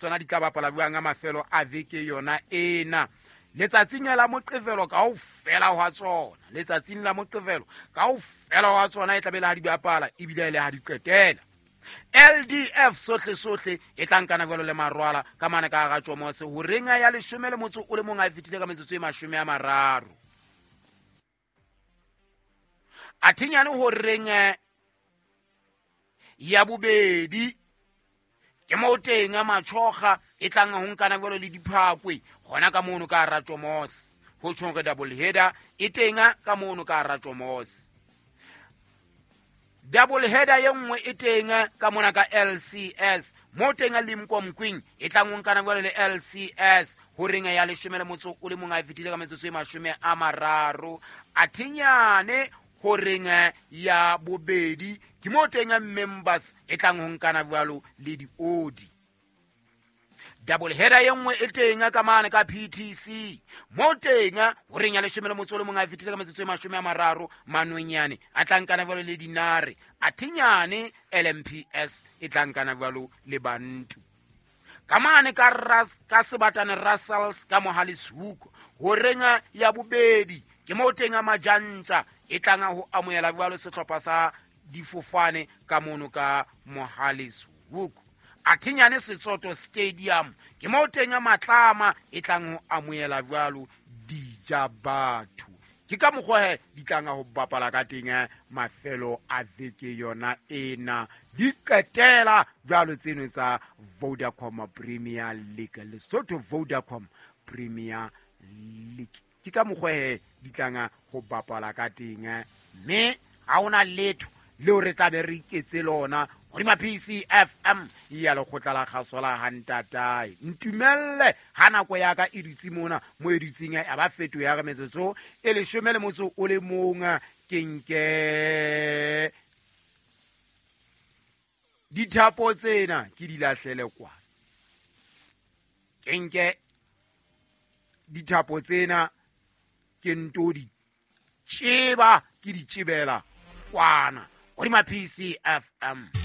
Tsona di tla bapala jwang a mafelo a veke yona ena? Letsatsing la Moqevelo kaofela hwa tsona, letsatsing la Moqevelo kaofela hwa tsona e tlabe le ha di bapala, ebile e le ha di qetela. LDF sohle sohle e tla nkana jwalo le Marwala ka mane ka hara Tjomose horeng ya 11 a e fetile ka metsotso e 30. Athinyane horeng ya bobedi ke mo teng a Matšhoga e tlang ho nkana jwalo le Diphakwe gona ka mono ka hara Tjomose. Ho tjhong re double header e teng ka mono ka hara Tjomose. Double header ye nngwe e teng ka mona ka LCS, mo teng a Limkomqueen e tlang ho nkana jwalo le LCS horeng ya 11 a e fetile ka metsotso e 30. Athinyane horeng ya bobedi ke mo teng Members e tlang ho nkana jwalo le Diodi. Double header ye nngwe e teng ka mane ka PTC, mo teng horeng ya 11 a e fetile ka metsotso e 30, Manonyane a tla nkana jwalo le Dinare. Athinyane LMPS e tla nkana jwalo le Bantu ka mane ka Ras, ka Sebatane Russells ka Mohale's Hoek horeng ya bobedi ke mo teng a Majantja e tlang ho amohela jwalo sehlopha sa Difofane ka mono ka Mohale's Hoek. Athinyane Setsoto Stadium ke mo teng a Matlama e tlang ho amohela jwalo Dija Batho. Ke ka mokgwa he di tlang ho bapala ka teng mafelo a veke yona ena, di qetela jwalo tseno tsa Vodacom Premier League, Lesotho Vodacom Premier League. Ke ka mokgwa he di tlang ho bapala ka teng, mme ha hona letho leo re tla be re iketse lona hodima PCFM ya lekgotla la kgaso la hantatae. Ntumelle ha nako ya ka e dutse mona mo e dutseng ya ba feto ya re metsotso e 11 ke nke dithapo tsena ke di lahlele kwa, ke nke dithapo tsena ke nto di tšeba, ke di tšebela kwana hodima PCFM.